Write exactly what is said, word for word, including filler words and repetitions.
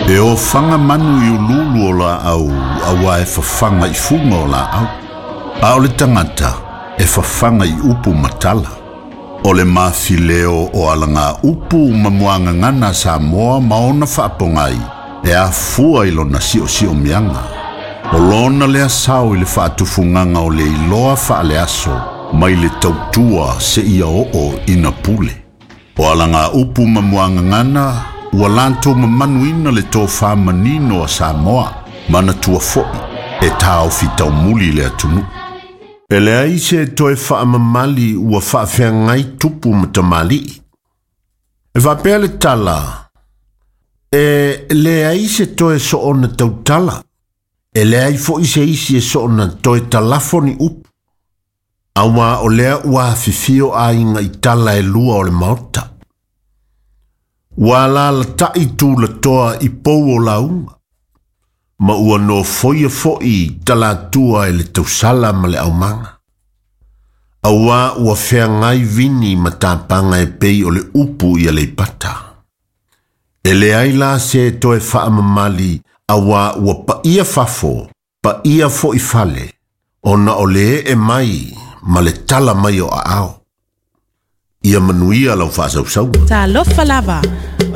E ofaga manu i uluulu o laau auā e fafaga i fuga o laau. A o le tagata e fafaga i upu ma tala. O le mafileo o alagaupu ma muagagana a Samoa ma ona faapogai e afua i lona siosiomiaga. O lona lea sao i le faatufugaga o le iloa faaleaso mai le tautua seia oo ina pule. O alagaupu ma muagagana ua latou mamanuina le tofā manino a Samoa, manatua foi e taofi taumuli le atunuu. E leai se toe faamamali ua faafeagai tupu ma tamalii. E faapea le tala, e leai se toe soona tautala, e leai foi se isi e soona toe talafo ni upu. Auā o lea ua afifio aiga i tala e lua o le Maota. Ua alalatai tulatoa i pou o lauga, ma ua nofoia foi talatua e le tausala ma le aumaga. Auā ua feagai vini ma tapaga e pei o le upu i Aleipata. E leai la se toe faamamali auā ua paia fafo, paia foi fale, ona o le ee mai ma le tala mai o aao. Ia manuia lau faasausauga. Talofa lava.